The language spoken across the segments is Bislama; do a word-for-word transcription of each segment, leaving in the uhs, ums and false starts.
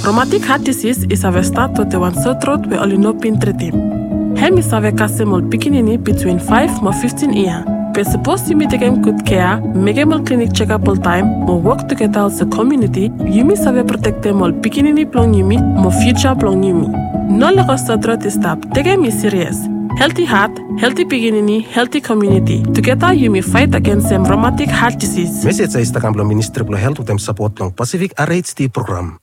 Romatik hat disis i save stat wetem wan sotrot we oli no bin tritim. Hem i save kasem ol pikinini bitwin faef mo fiftin yia. Be sapos yumi tekem gud kea, mekem ol klinik jekap oltaem mo wok tugeta olsem komuniti, yumi save protektem ol pikinini blong yumi mo fiuja blong yumi. No lego sotrot i stap. Tekem i sirias. Helti hat, helti pikinini, helti komuniti. Tugeta yumi faet agensem romatik hat disis. Mesej ya i stap kam blong Ministri blong Helt wetem sapot blong Pasifik R H D program.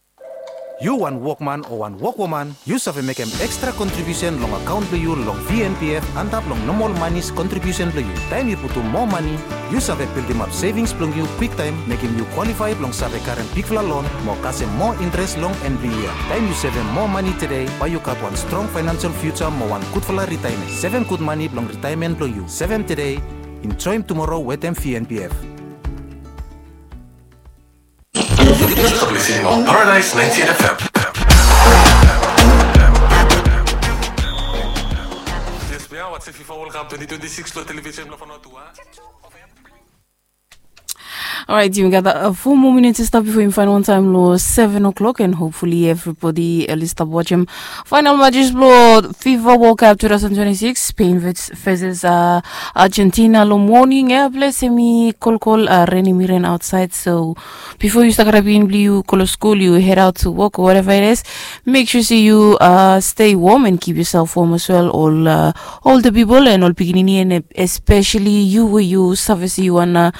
Yu wan wokman o wan wokwoman, yu save mekem ekstra kontribiusen long akaon blong yu long V N P F antap long nomol manis kontribiusen blong yu. Taem yu putum moa mani, yu save bildimap sevings blong yu kwiktaem, mekem yu kwalifae blong save karem bigfala lon mo kasem moa interes long en blong yia. Taem yu sevem moa mani tede, bae yu gat wan strong faenansel fiuja mo wan gudfala ritaemen. Sevem gud mani blong ritaemen blong yu. Sevem tede, enjoem tumoro wetem V N P F. Yu stap listening on Paradise ninety-eight F M. Yes, we are watching FIFA World Cup twenty twenty-six lo television lo Vanuatu. Alright, yumi gat uh, four more minutes i stap bifo yumi faen wan taem lo seven o'clock, and hopefully everybody oli stap wajem final matches blo FIFA World Cup two thousand twenty-six, Spain versus uh, Argentina lo moning ya. Ples hemi kolkol, uh, ren hemi ren outside, so bifo yu stap karap pikinini blo yu go lo skul, yu head out to work or whatever it is, make sure se yu uh, stay warm and keep yourself warm as well. Ol uh, older people and ol pikinini, and especially yu we yu save se yu wan uh,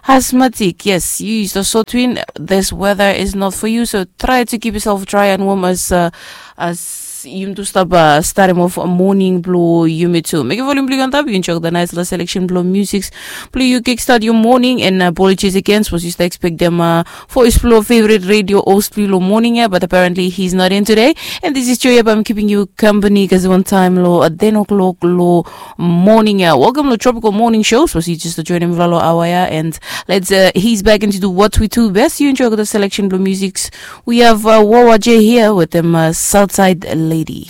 asthmatic. Yes, yu is the sort win. This weather is not for you, so try to keep yourself dry and warm as uh, as yumi tu stap uh, starim of moning blo yumi tu. Mekem volume blo yu antap, yu enjoy the nice little selection blo music blo yu kickstart your morning, and uh, apologies again, sapos yu stap expectem uh, voice blo favorite radio host blo yu lo moning ya, but apparently he's not in today. And this is Joya, I'm keeping you company kasem wan taem lo uh, ten o'clock lo moning ya. Welcome lo Tropical Morning Show. Sapos yu just joinim lo aoa ya, and let's uh, ease back into do what we do best. Yu enjoy the selection blo music. We have uh, Wawa J here wetem uh, Southside Lady.